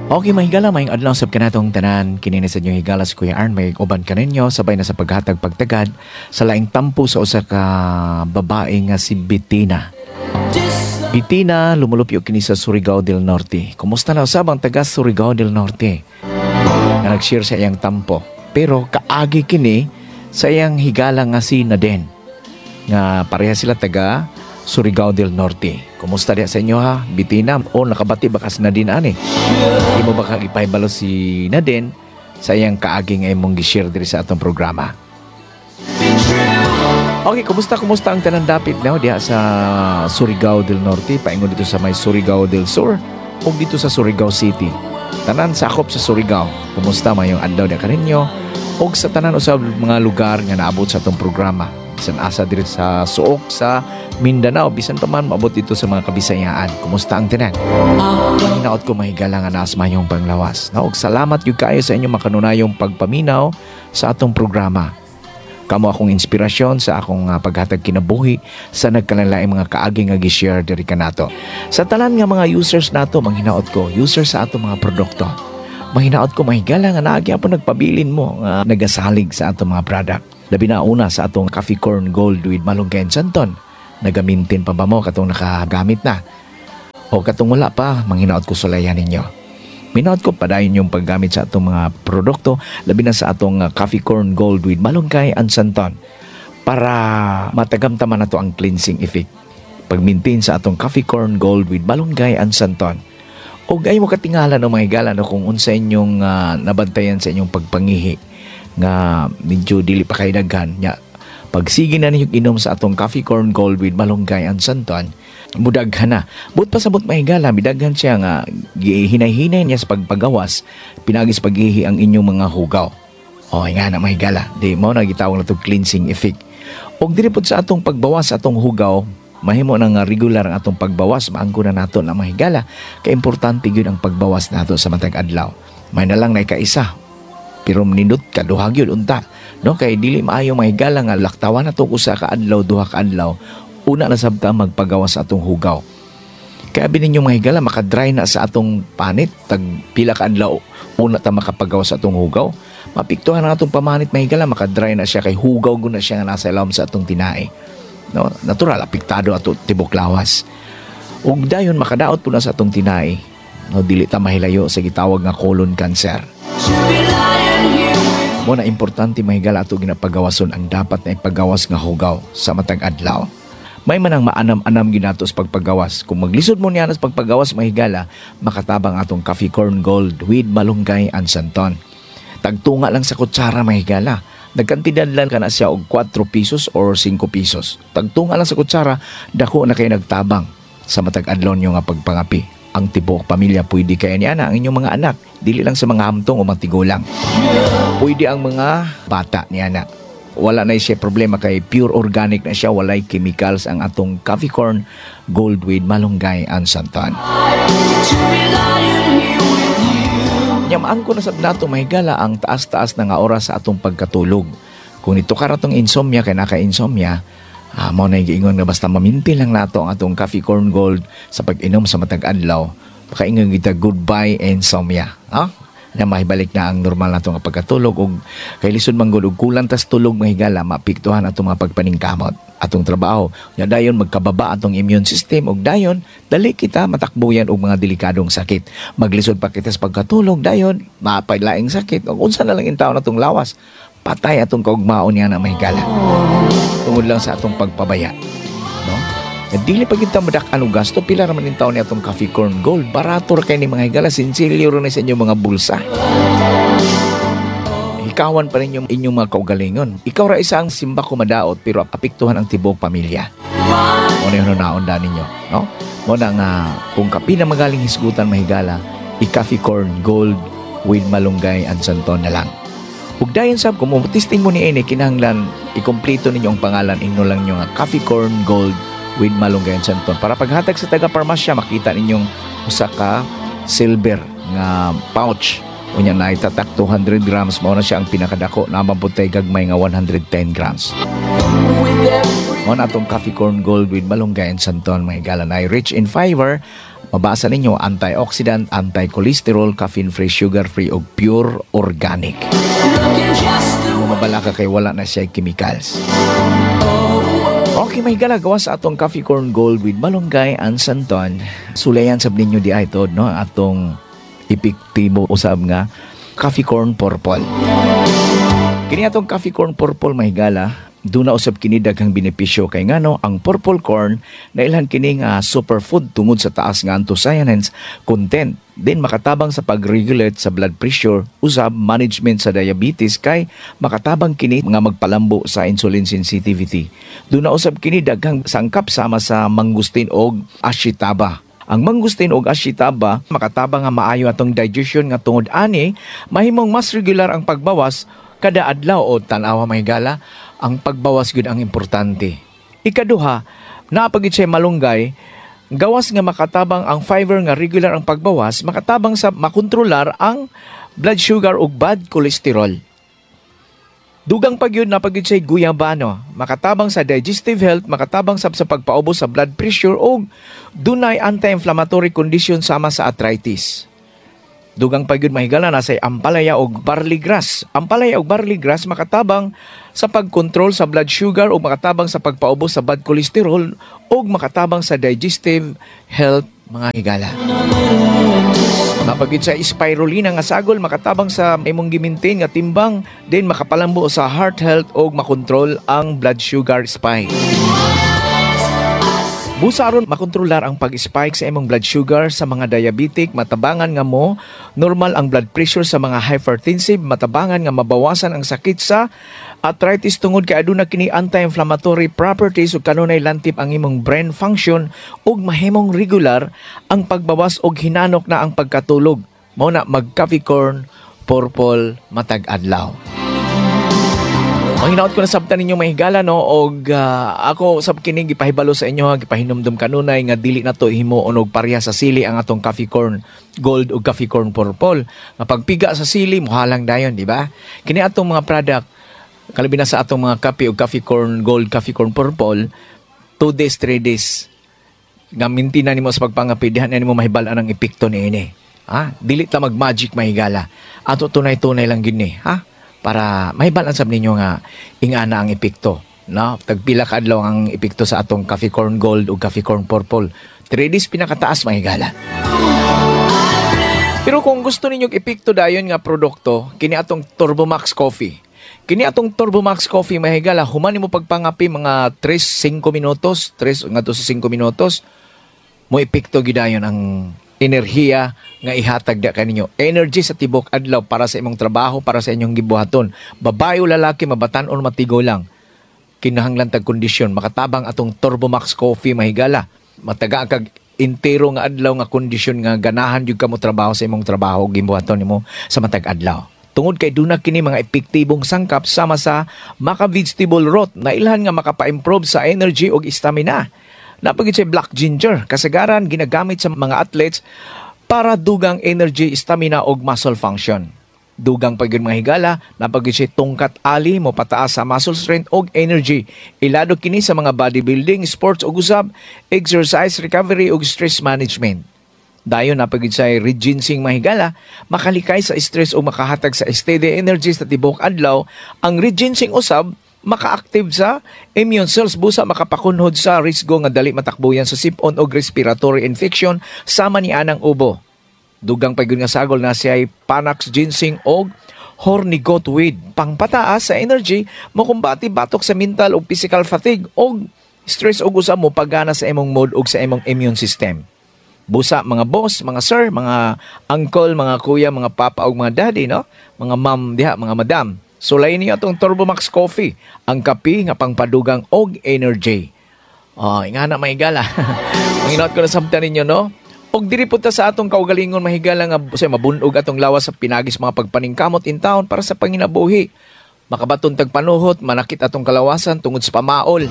Okay, mahigala, maayong adlaw sab kanatong tanan. Kini na sa inyong higala si Kuya Arn, may uban kaninyo sabay na sa paghatag pagtagad sa laing tampo sa usa ka babae nga si Bettina. Bettina, lumulupyo kini sa Surigao del Norte. Kumusta na usab ang taga Surigao del Norte? Nga nag-share sa iyang tampo. Pero kaagi kini sa iyang higala nga si Naden. Nga pareha sila taga Surigao del Norte. Kumusta diha sa inyo ha, Bettina? O nakabati ba ka si Nadine ani? Imo ba ka ipahibalo si Nadine sa iyang kaagi nga imong gi-share diri sa atong programa? Okay, kumusta kumusta ang tanan dapit no diha sa Surigao del Norte, paingon dito sa may Surigao del Sur ug dito sa Surigao City. Tanan sakop sa Surigao. Kumusta mayong adlaw diha kaninyo? Ug sa tanan usab mga lugar nga naabot sa atong programa. Bisan asa diri sa Suok sa Mindanao, bisan pa man maabot dito sa mga Kabisayaan. Kumusta ang tanan? Hinaot ko, mahigala, nga naas mayong panglawas. No, ug salamat gyud kaayo sa inyong makanunayong pagpaminaw sa atong programa. Kamo akong inspirasyon sa akong paghatag kinabuhi sa nagkalainlaing mga kaagi nga gi-share diri kanato. Sa tanan nga mga users nato, manghinaot ko, users sa atong mga produkto. Manghinaot ko, mahigala, nga naa gyapon nagpabilin mo nga nagasalig sa atong mga product. Labi na una sa atong Coffee Corn Gold with Malunggay and Santon. Nagamintin pa ba mo katong nakagamit na? O katong wala pa, manghinaot ko sulayan ninyo. Minaot ko padayon yung paggamit sa atong mga produkto, labi na sa atong Coffee Corn Gold with Malunggay and Santon para matagamtaman nato ang cleansing effect. Pag-maintain sa atong Coffee Corn Gold with Malunggay and Santon. O ay mo katingala no, mga higala no, kung unsa inyong nabantayan sa inyong pagpangihi nga medyo dili pa kay daghan nya, pagsige na ninyo inom sa atong Coffee Corn Gold with Malunggay and Santon, mudaghan na. But pasabot, mahigala, midaghan siya nga gihinay-hinay niya sa pagpagawas pinagi sa paghihi ang inyong mga hugaw. O nga na, mahigala, di mo na gitawag na to cleansing effect. Og diri pod sa atong pagbawas sa atong hugaw, mahimo na nga regular ang atong pagbawas, maangko na nato na, mahigala, kay importante gyud ang pagbawas nato sa matag adlaw. May na lang na ikaisa pero nindot kaduha gyud unta no, kay dili maayo, mahigala, nga laktawan nato usa ka adlaw, duha ka adlaw, una na sabta magpagawas sa atong hugaw. Kaya abi ninyo, mahigala, makadry na sa atong panit tag pila ka adlaw una ta makapagawas sa atong hugaw, mapiktuhan ang atong pamanit, mahigala, makadry na siya kay hugaw gud na siya nga nasa ilawom sa atong tinai no. Natural apektado ato tibok lawas ug dayon makadaot po na sa atong tinai no, dili ta mahilayo sa gitawag nga colon cancer. Mo na importante, mahigala, ato ginapagawason ang dapat na ipagawas nga hugaw sa matag adlaw. May manang maanam-anam ginato sa pagpagawas. Kung maglisod mo niya sa pagpagawas, mahigala, makatabang atong Coffee Corn Gold with Malunggay and Santon. Tagtunga lang sa kutsara, mahigala. Nagkantidad lang ka na siya og 4 pesos or 5 pesos. Tagtunga lang sa kutsara, dako na kayo nagtabang sa matag adlaw nyo nga pagpangapi. Ang tibuok pamilya pwede kaya niya na ang inyong mga anak, dili lang sa mga hamtong o mga tigulang. Pwede ang mga bata niya na. Wala na siya problema kay pure organic na siya, walay chemicals ang atong Coffee Corn Gold with Malunggay and Santan. Nya maangko na sab nato, mahigala, ang taas-taas na nga oras sa atong pagkatulog. Kung ito ka atong insomnia, kay naka-insomnia, mao na giingon nga basta maminti lang nato ang atong Coffee Corn Gold sa pag-inom sa matag adlaw, makaingon kita goodbye insomnia. Ha? Na mahibalik na ang normal nato nga pagkatulog ug kay lisod man gud og kulang tas tulog, mahigala, maapektuhan atong mga pagpaningkamot, atong trabaho. Nya dayon magkababa atong immune system ug dayon dali kita matakbuyan og mga delikadong sakit. Maglisod pa kita sa pagkatulog, dayon maapay laing sakit ug unsa na lang intawon atong lawas, patay atong kaugmaon niya na, mahigala, tungod lang sa atong pagpabaya no. Na dili pa kita madak-an og gasto, pila ra man intawon ni atong Coffee Corn Gold? Barato ra kay ni, mga higala, sinsilyo ra ni sa inyong mga bulsa. Hikawan pa rin yung inyong mga kaugalingon. Ikaw ra isa ang simba ko madaot pero apektuhan ang tibuok pamilya. Mo na yung naon ninyo, no? Mo na nga kung kapi na magaling hisgutan, mahigala, i-Coffee Corn Gold with Malunggay and Santon na lang. Ug dayon sab kung mo-testing mo ni ini, kinahanglan ikompleto ninyo ang pangalan, ingno lang nyo nga Coffee Corn Gold with Malunggay and Santon para paghatag sa taga parmasya makita ninyong usa ka silver nga pouch. Unya na itatak 200 grams, mao na siya ang pinakadako na pud tay gagmay nga 110 grams. Mao na atong Coffee Corn Gold with Malunggay and Santon, mga higala, na rich in fiber. Mabasa ninyo, antioxidant, anti-cholesterol, caffeine-free, sugar-free ug pure organic. Mabala ka kay wala na siya chemicals. Okay, may galagawa sa atong Coffee Corn Gold with malunggay and santon. Sulayan sab ninyo di ay to, no? Atong epektibo usab nga Coffee Corn Purple. Kini atong Coffee Corn Purple, mahigala, duna usab kini daghang benepisyo kay ngano ang purple corn nailhan kini nga superfood tungod sa taas nga anthocyanins content. Then makatabang sa pag-regulate sa blood pressure, usab management sa diabetes kay makatabang kini nga magpalambo sa insulin sensitivity. Duna usab kini daghang sangkap sama sa mangosteen og ashitaba. Ang mangosteen og ashitaba makatabang nga maayo atong digestion nga tungod ani mahimong mas regular ang pagbawas kada adlaw. O tan-awa, mahigala, ang pagbawas gyud ang importante. Ikaduha, naa pa gyud siya malunggay, gawas nga makatabang ang fiber nga regular ang pagbawas, makatabang sa makontrolar ang blood sugar ug bad cholesterol. Dugang pa gyud, naa pa gyud siya guyabano, makatabang sa digestive health, makatabang sab sa pagpaubos sa blood pressure ug dunay anti-inflammatory condition sama sa arthritis. Dugang pa gyud, mahigala, na say ampalaya og barley grass. Ampalaya og barley grass makatabang sa pagkontrol sa blood sugar ug makatabang sa pagpaubos sa bad cholesterol ug makatabang sa digestive health, mga higala. Naa pa gyud sa spirulina nga sagol, makatabang sa imong gi-maintain nga timbang, din makapalambo sa heart health ug makontrol ang blood sugar spike. Busa aron makontrolar ang pag-spike sa imong blood sugar sa mga diabetic, matabangan nga mo normal ang blood pressure sa mga hypertensive, matabangan nga mabawasan ang sakit sa arthritis tungod kay aduna kini anti-inflammatory properties ug kanunay lantip ang imong brain function ug mahimong regular ang pagbawas og hinanok na ang pagkatulog. Mao na mag Coffee Corn Purple matag adlaw. Ang hinaot ko na sabtan ninyo, mahigala, no, og ako sab kini gipahibalo sa inyo ha, gipahinumdum kanunay nga dili na to himuon og pareha sa sili ang atong Coffee Corn Gold ug Coffee Corn Purple. Nga pagpiga sa sili mohalang dayon, di ba? Kini atong mga product, kalabi na sa atong mga kape ug Coffee Corn Gold, Coffee Corn Purple, 2 days, 3 days nga minti na nimo sa pagpangapi, dihan na nimo mahibal-an ang epekto niini. Ha? Dili ta mag-magic, mahigala. Ato tunay-tunay lang gini, ha? Para mahibal-an sab ninyo nga ingana ang epekto. No? Tagpila ka adlaw ang epekto sa atong Coffee Corn Gold ug Coffee Corn Purple. 3 days pinakataas, mahigala. Pero kung gusto ninyo epekto dayon nga produkto, kini atong Turbomax Coffee. Kini atong Turbomax Coffee, mahigala, human nimo pagpangapi mga 3 5 minutos, 3 ngadto sa 5 minutos, mo epekto gidayon ang enerhiya nga ihatag da kaninyo. Energy sa tibok adlaw para sa imong trabaho, para sa inyong gibuhaton. Babae o lalaki, mabatan-on matigulang. Kinahanglan tag kondisyon, makatabang atong Turbomax Coffee, mahigala. Mataga kag entero nga adlaw nga kondisyon nga ganahan jud ka mo trabaho sa imong trabaho gibuhaton nimo sa matag adlaw. Tungod kay duna kini mga epektibong sangkap sama sa maka vegetable root na ilhan nga makapa-improve sa energy ug stamina. Naa pa gyud siya black ginger, kasagaran ginagamit sa mga athletes para dugang energy, stamina ug muscle function. Dugang pa gyud, mga higala, naa pa gyud siya tongkat ali, mo pataas sa muscle strength ug energy. Ilado kini sa mga bodybuilding, sports ug usab, exercise recovery ug stress management. Dayon naa pa gyud sa red ginseng, mahigala, makalikay sa stress o makahatag sa steady energy sa tibok adlaw. Ang red ginseng usab maka-active sa immune cells, busa makapakunhod sa risgo nga dali matakbuyan sa sipon o respiratory infection sama ni anang ubo. Dugang pa gyud nga sagol na siya ay Panax ginseng og horny goat weed. Pangpataas sa energy, mokumbati batok sa mental ug physical fatigue og stress ug usab mo pagana sa imong mood ug sa imong immune system. Busa mga boss, mga sir, mga uncle, mga kuya, mga papa ug mga daddy, no? Mga ma'am diha, mga madam. Sulayin niyo atong Turbomax Coffee, ang kape nga pangpadugang og energy. Oh, ingana, mahigala. Ang hinaot ko na sabtan ninyo, no? Og diri po ta sa atong kaugalingon, mahigala, nga sa mabunog atong lawas sa pinagis mga pagpaningkamot in town para sa panginabuhi. Makabaton tag panuhot, manakit atong kalawasan tungod sa pamaol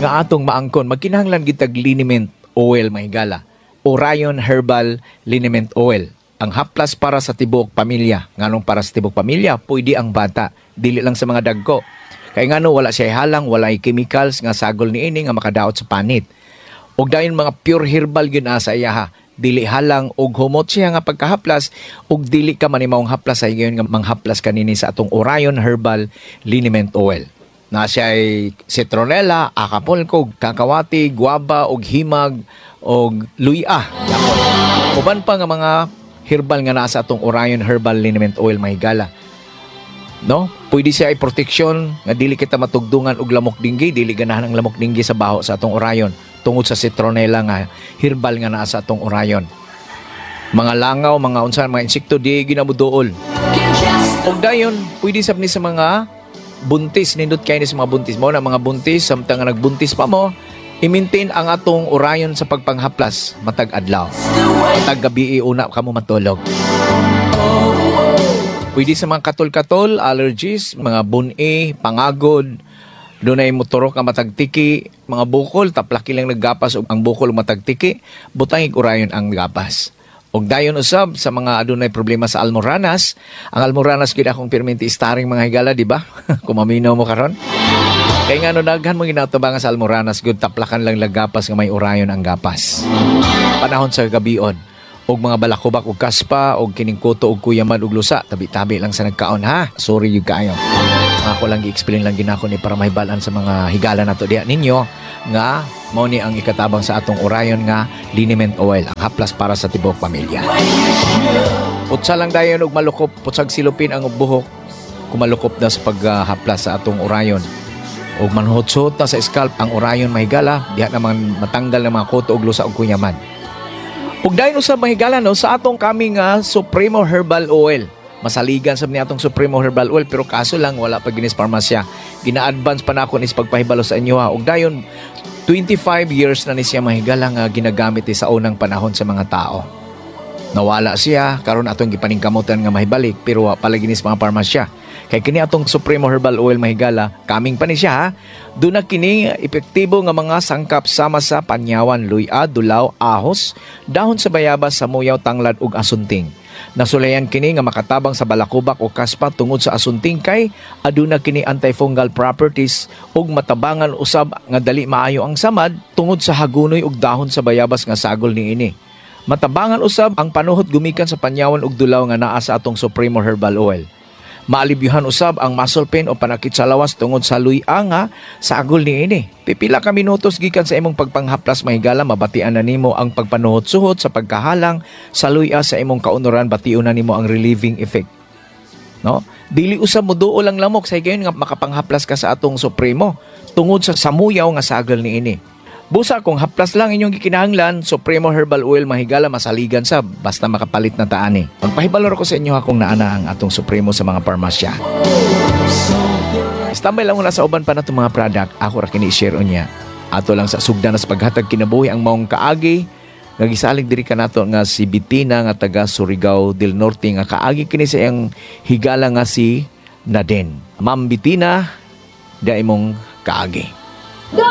nga atong maangkon. Magkinahanglan gid tag liniment oil, mahigala. Orion Herbal Liniment Oil. Ang haplas para sa tibok pamilya. Nganong para sa tibok pamilya? Pwede ang bata, dili lang sa mga dagko. Kay ngano wala siya halang, wala chemicals nga sagol niini nga makadaot sa panit. Og dayon mga pure herbal gyud na sa iya ha. Dili halang og humot siya nga pagkahaplas og dili ka man maong haplas sa higayon nga manghaplas kanini sa atong Orion Herbal Liniment Oil. Na siya ay citronella, acapulco, kakawati, guaba og himag og luya. Yapon. Uban pa nga mga herbal nga naa sa atong Orion Herbal Liniment Oil, mahigala. No? Pwede siya ay proteksyon nga dili kita matugdungan og lamok dinggi, dili ganahan ang lamok dinggi sa baho sa atong Orion tungod sa citronella nga herbal nga naa sa atong Orion. Mga langaw, mga unsa, mga insekto, di ginamuduol. Og dayon, pwede sab ni sa mga buntis, nindot kay ni sa mga buntis mo na mga buntis samtang nga nagbuntis pa mo, i-maintain ang atong Orion sa pagpanghaplas matag adlaw. Matag gabi una ka mo matulog. Pwede sa mga katol-katol, allergies, mga buni, pangagod, dunay motorok ang matagtiki, mga bukol, taplaki lang naggapas og ang bukol matagtiki, butangig Orion ang gapas. Og dayon usab sa mga adunay problema sa almoranas, ang almoranas gid akong perminti starring, mga higala, di ba? Kung maminaw mo karon. Kay ngano daghan mo ginatabangan sa almoranas gud, taplakan lang lagapas nga may Orion ang gapas. Panahon sa gabion og mga balakubak og kaspa og kining kuto og kuyaman og lusa, tabi-tabi lang sa nagkaon ha. Sorry gyud kaayo. Ako lang gi-explain lang ginako ni para mahibal-an sa mga higala nato diha ninyo nga mao ni ang ikatabang sa atong Orion nga liniment oil, ang haplas para sa tibuok pamilya. Putsa lang dayon og malukop, putsag silupin ang buhok kung malukop na sa paghaplas sa atong Orion. Og manhot-suot na sa scalp ang Orion, mahigala, diha naman matanggal ng mga kuto og lusa og kunyaman. Ug dayon usab, mahigala, no, sa atong kami nga Supremo Herbal Oil. Masaligan sab ni atong Supremo Herbal Oil, pero kaso lang wala pa ginis parmasya. Gina-advance pa nako ni sa pagpahibalo sa inyo ha. Ug dayon 25 years na ni siya, mahigala, nga ginagamit ni sa unang panahon sa mga tao. Nawala siya, karon atong gipaningkamutan nga mahibalik, pero wa pa lagi ni sa mga parmasya. Kay kini atong Supremo Herbal Oil, mahigala, kaming pa ni siya ha. Duna kini epektibo nga mga sangkap sama sa panyawan, luya, dulaw, ahos, dahon sa bayabas, samuyaw, tanglad ug asunting. Nasulayan kini nga makatabang sa balakubak o kaspa tungod sa asunting kay aduna kini antifungal properties ug matabangan usab nga dali maayo ang samad tungod sa hagunoy ug dahon sa bayabas nga sagol niini. Matabangan usab ang panuhot gumikan sa panyawan ug dulaw nga naa sa atong Supremo Herbal Oil. Maalibyuhan usab ang muscle pain o panakit sa lawas tungod sa luya nga sagol niini. Pipila ka minutos gikan sa imong pagpanghaplas, mahigala, mabatian na nimo ang pagpanuhot-suhot sa pagkahalang sa luya sa imong kaunuran, bation na nimo ang relieving effect. No? Dili usab moduol ang lamok sa higayon nga makapanghaplas ka sa atong Supremo tungod sa samuyaw nga sagol niini. Busa kung haplas lang inyong gikinahanglan, Supremo Herbal Oil, mahigala, masaligan sa basta makapalit na taani. Pagpahibalo ko sa inyo ha kung naana ang atong Supremo sa mga parmasya. Standby lang muna sa uban pa na itong mga product. Ako ra kini i-share unya. Ato lang sa sugdan na sa paghatag kinabuhi ang maong kaagi nga gisalig diri kanato nga si Bettina nga taga Surigao del Norte nga kaagi kini sa iyang higala nga si Naden. Ma'am Bettina, da imong kaagi. Dok!